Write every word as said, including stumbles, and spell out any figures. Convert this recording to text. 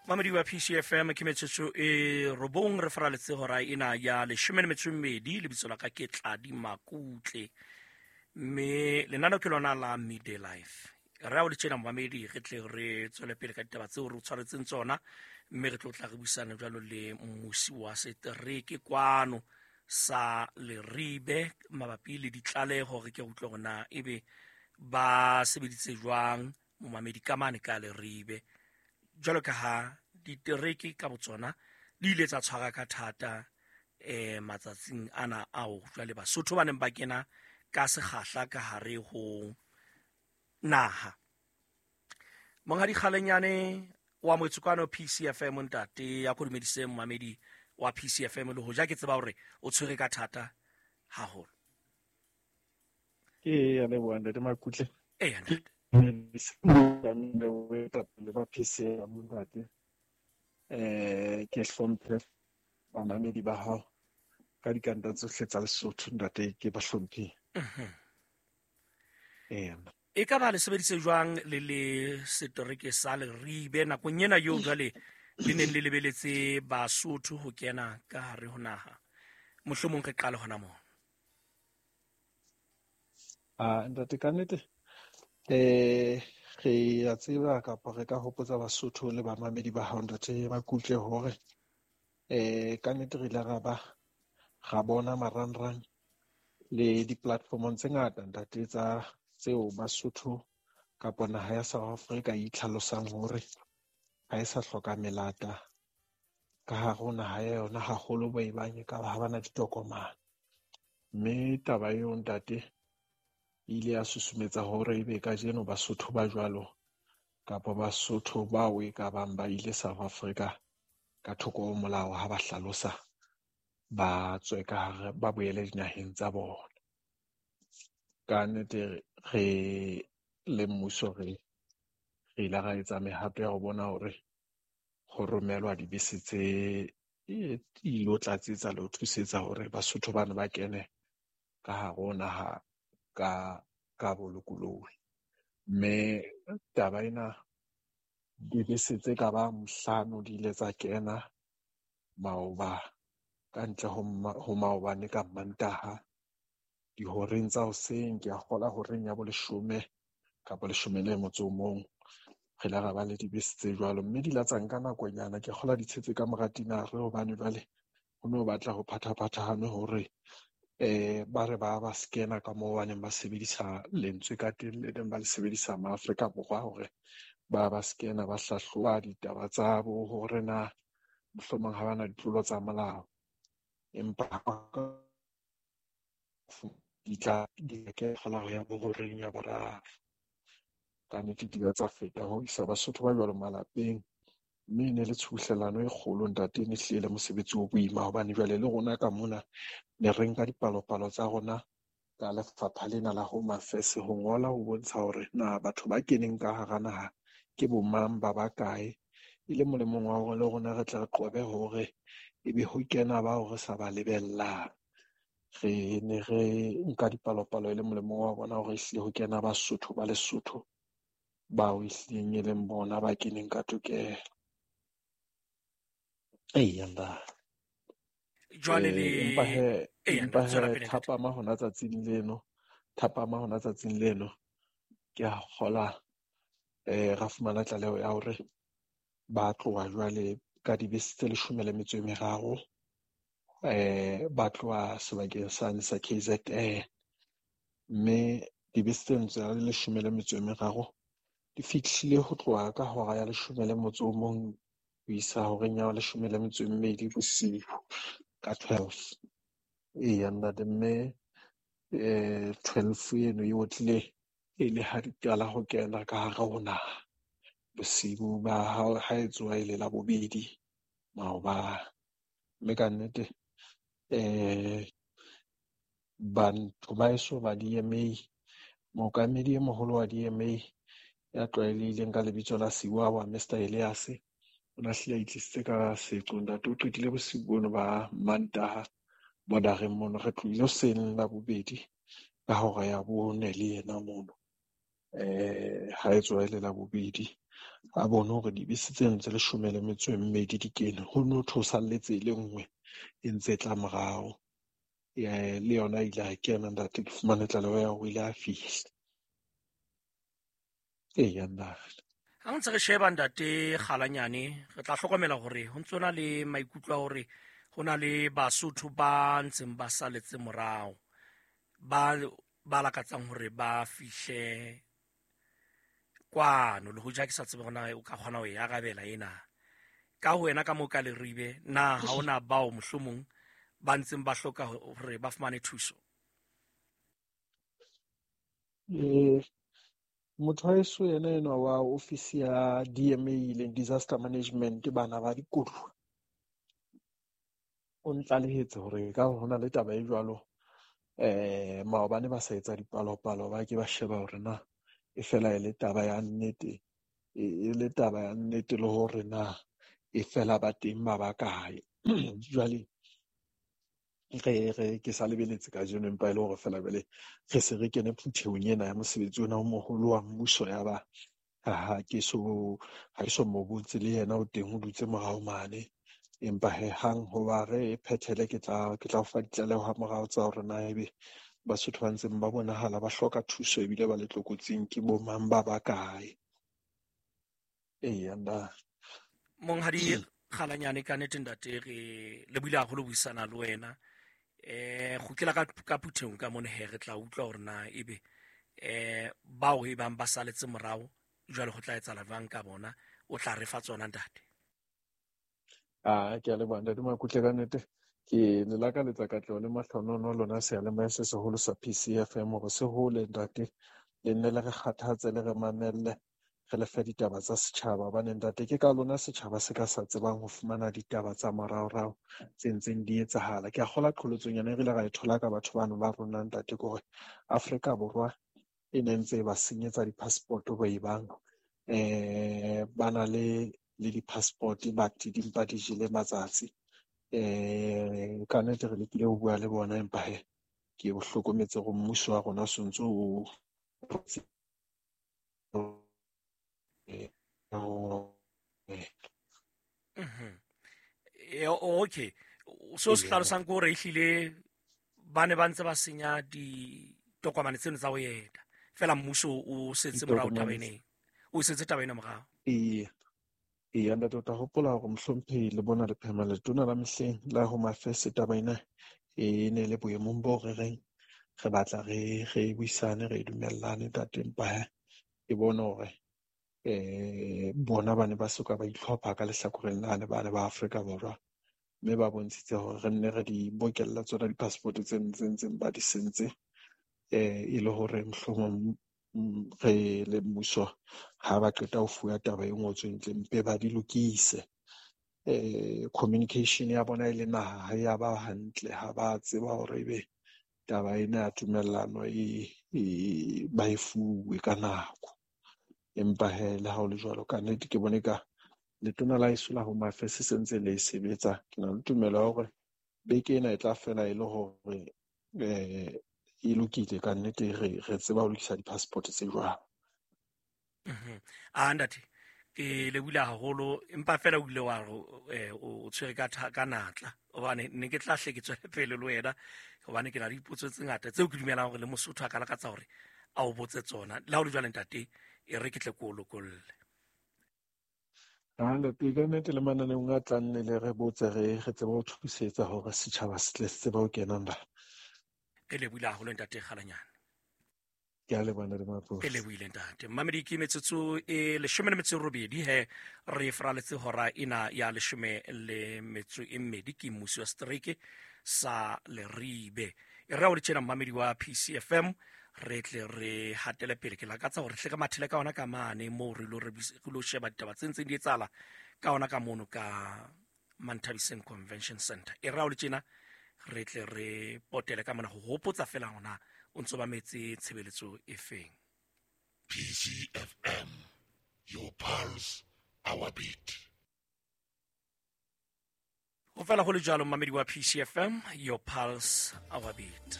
Mamedi wa P C F M ke metsotso e robong re faraletse hora ena ya leshome le metso e mmedi. Lebitso la ka ke Tladi Makutle, mme lenaneo ke lona la Midday Life. Re a o le tjena momamedi, re tle re tswele pele ka ditaba tseo re o tshwaretseng tsona, mme re tlo tla re buisana jwalo le mmusi wa setereke kwano sa Leribe mabapi le ditlaleho. Re ke utlwe hore na ebe ba sebeditse jwang momamedi ka mane ka Leribe, jwalo ka ha ditereke ka botsona di ile tsa tshwara ka thata eh matsatsing ana ao jwale Basotho ba neng ba kena ka sekgahla ka hare ho naha. Monghadi Kgalenyane wa Motsokano P C F M, ntate ya kodumedise momamedi wa P C F M, le hoja ke tseba hore o tshwere ka thata haholo. Ke ya leboha ntate Makutle. Eh, ntate. Ba P C F M ntate. Eh, ke hlomphe bamamedi ba hao ka dikanta tsohle tsa Lesotho ntate, ke ba hlomphe. Mhm. Eh. E ka ba le sebedise jwang le le setereke sa Leribe nakong ena eo jwale le neng le lebeletse Basotho ho kena ka hare ho naha? Mohlomong re qale hona moo. Ah, ntate, ka nnete eh re a tseba kapa re ka hopotsa Basotho le bamamedi ba hao ntate Makutle hore eh ka nnete re ile ra ba ra bona marangrang le di-platformong tse ngata ntate tsa tseo Basotho kapa naha ya South Africa e itlhalosang hore ha e sa hloka melata ka hare ho naha ya yona, haholo bo e bang e ka ba ha bana ditokomane. Mme taba eo ntate e ile ya susumetsa hore ebe kajeno Basotho ba jwalo kapa Basotho bao e ka bang ba ile South Africa ka thoko ho molao ha ba hlalosa ba tswe ka hare, ba boele dinaheng tsa bona. Ka nnete re le mmuso re, re ile ra etsa mehato ya ho bona hore ho romelwa dibese tse ilo tlatsetsa le ho thusetsa hore Basotho bana ba kene ka hare ho naha ka, ka bolokolohi. Mme taba ena dibese tse ka bang hlano di ile tsa kena maoba ka ntle ho ma-, ho maobane ka Mantaha dihoreng tsa hoseng, ke a kgola horeng ya boleshome kapa leshome le motso o mong, re ile ra ba le dibese tse jwalo, mme di la tsa nka nakonyana, ke kgola di tshetse ka mora tinare, hobane jwale ho no batla ho phathaphathahane hore eh ba re ba ba scanner ka moo ba neng ba sebedisa lentswe ka teng, le neng ba le sebedisa ma Afrika Borwa hore ba ba scanner, ba hlahloba ditaba tsa bo hore na mohlomong ha bana ditlolo tsa molao, empa di tla di ke kgola ho ya bo horeng ya boraro. Ka nnete di tsa feta ho isa Basotho ba jwalo malapeng, mme e ne le tshubuhlellano e kgolo ntate, e ne hlile le mosebetsi o boima, hobane jwale le rona ka mona ne re nka dipalopalo tsa rona ka lefapha lena la Home Affairs ho ngola ho bontsha hore na batho ba keneng ka hara naha ke bo mang, ba bakae, e le molemong wa hore le rona re tle re qobe hore ebe ho kena bao re sa ba lebellang. Re ne re nka dipalopalo e le molemong wa bona hore ehlile ho kena Basotho ba Lesotho bao ehlileng e leng bona ba keneng ka tokelo. Eya, ntate. Jwale Eh, le empa he, Eya, empa ntate, tswela he pele, ntate. thapama hona tsatsing leno, thapama hona tsatsing leno, ke a kgola, eh, ra fumana tlaleho ya hore ba tloha jwale ka dibese tse leshome le metso e meraro, eh, ba tloha sebakeng sane sa K Z N, mme dibese tseno tse leshome le metso e meraro di fihlile ho tloha ka hora ya leshome le motso o mong ho isa horeng ya leshome le metso e mmedi bosiu ka twelve. Eya ntate, mme, eh, twelve eno e otlile e le ha di qala ho kena ka hare ho naha bosiu ba ha, ha e tsoha e le la bobedi maobane. Mme ka nnete, eh, batho ba eso ba D M A, mookamedi e moholo wa D M A ya tlwaelehileng ka lebitso la Siwawa, Mister Elias, o ne a hlile a itlisitse ka seqo ntate. O qetile bosiu bono ba Mantaha bordereng mono, re tlohile hoseng la bobedi ka hora ya bone le yena mono, eh, ha e tsoha e le la bobedi. a bone hore dibese tseno tse leshome le metso e mmedi di kene. Ho no thwe ho salletse e le nngwe e ntse e tla morao. Le yona ile a kena ntate, ke fumane tlaleho ya hore o ile a fihla. Eya ntate. Ha ntse re sheba ntate Kgalanyane, re tla hlokomela hore ho ntso na le maikutlo a hore ho na le Basotho ba ntseng ba saletse morao, ba ba lakatsang hore ba fihle kwano, le hoja ke sa tsebe hore na o ka kgona ho e arabela ena. Ka ho wena ka moo ka Leribe, na ha hona bao mohlomong ba ntseng ba hloka hore ba fumane thuso? Eh, motho wa heso yena enwa wa ofisi ya D M A leng Disaster Management, bana ba dikoduwa, o ntlalehetse hore ka hona le taba e jwalo. Eh, maobane ba sa etsa dipalopalo, ba ke ba sheba hore na e fela e le taba ya nnete, e le taba ya nnete le hore na e fela ba teng ba ba kae. Jwale re re ke sa lebeletse kajeno, empa e le hore fela jwale re se re kene phuthehong ena ya mosebetsi ona o moholo wa mmuso, ya ba ha ke so ha ke so mo botse le yena o teng o dutse morao mane. Empa he hang hoba re phethele, ke tla ke tla o fa ditlaleho ha morao tsa hore na ebe Basotho ba ntseng ba bonahala ba hloka thuso ebile ba le tlokotsing ke bo mang ba ba kae. Eya nna. Monghadi Kgalanyane, ka nnete ntate re lebohile haholo buisana le wena. Eh kgutlela ka ka phuthehong ka mona he re tla utlwa hore na ebe eh bao e bang ba saletse morao jwale ho tla etsahala jwang ka bona, o tla re fa tsona ntate. Ah, ke a leboha ntate Makutle, ka nnete ke le lakaletsa katleho le mahlonono lona seyalemoya se seholo sa P C F M hore se hole ntate, le nne le re kgathatse le re mamelle, re le fe ditaba tsa setjhaba, hobane ntate ke ka lona setjhaba se ka sa tsebang ho fumana ditaba tsa moraorao tse ntseng di etsahala. Ke a kgolwa qholotsonyana e re ile ra e thola ka batho bano ba rona ntate, ke hore Afrika Borwa e ne ntse e ba senyetsa di-passport bo e bang eh ba na le le di-passport but di mpa di jele matsatsi. Eh ka nnete re lekile ho bua le bona, empa he ke bo hlokometse hore mmuso wa rona o sontso o Mhm. Okay, so se hlalosang ke hore ehlile ba ne ba ntse ba senya ditokomane tseno tsa ho eta, fela mmuso o setse morao taba ena, o setse taba ena morao. Ee, ee ntate, o tla hopola hore mohlomphehi le bona le phema letona la mehleng la Home Affairs, taba ena e ne le boemong bo re reng re batla re re buisane, re dumellane ntate, empa he ke bone hore eh bona ba ne ba soka ba itlhopha ka lehlakoreng lane ba ne ba Afrika Borwa, mme ba bontshitse hore re nne re di bokella tsona di-passport tse ntseng ba di sentse, eh e le hore mohlomong re le mmuso ha ba qeta ho fuwa taba e ngotsweng ntle mpe ba di lokise. Eh communication ya bona e le naha ha ya ba hantle, ha ba tseba hore ebe taba ena ya tumellano e ba e fuwe ka nako. Empa he le ha ho le jwalo, ka nnete ke bone ka letona la heso la Home Affairs se ntse le sebetsa. Ke na le tumelo ya hore beke ena e tla fela e le hore eh e lokile ka nnete, re re tseba ho lokisa di-passport tse jwalo. Mhm. Ah ntate, ke lebohile haholo, empa fela o ile wa re o tshwere ka ka natla, hobane ne ke tla hle ke tswele pele le wena, hobane ke na le dipotso tse ngata tseo ke dumelang hore le Mosotho a ka lakatsa hore a o botse tsona. Le ha o le jwale ntate, e re ke tle ko lokolle. Ah ntate, ka nnete le mananeong a tlang ne le re botse, re re tsebe ho thusetsa hore setjhaba se tle se tsebe ho kena nda. Ke lebohile haholo ntate Kgalanyane. Ke a leboha ntate Maposi. Ke lebohile ntate. Mmamedi, ke metsotso e leshome le metso e robedi he re fraletse hora ena ya leshome le metso e mmedi, ke mmusi wa setereke sa Leribe. E re o le tjena mmamedi wa P C F M, re tle re hatele pele. Ke lakatsa hore hle ka mathele ka ona ka mane moo re lo re lo sheba ditaba tse ntseng di etsahala ka ona ka mono ka Manthabiseng Convention Center. E re o le tjena re tle re potele ka mona ho hopotsa fela hona o ntso ba metse tshebeletso e feng. P C F M, your pulse, our beat. Ho fela ho le jwalo mmamedi wa P C F M, your pulse, our beat.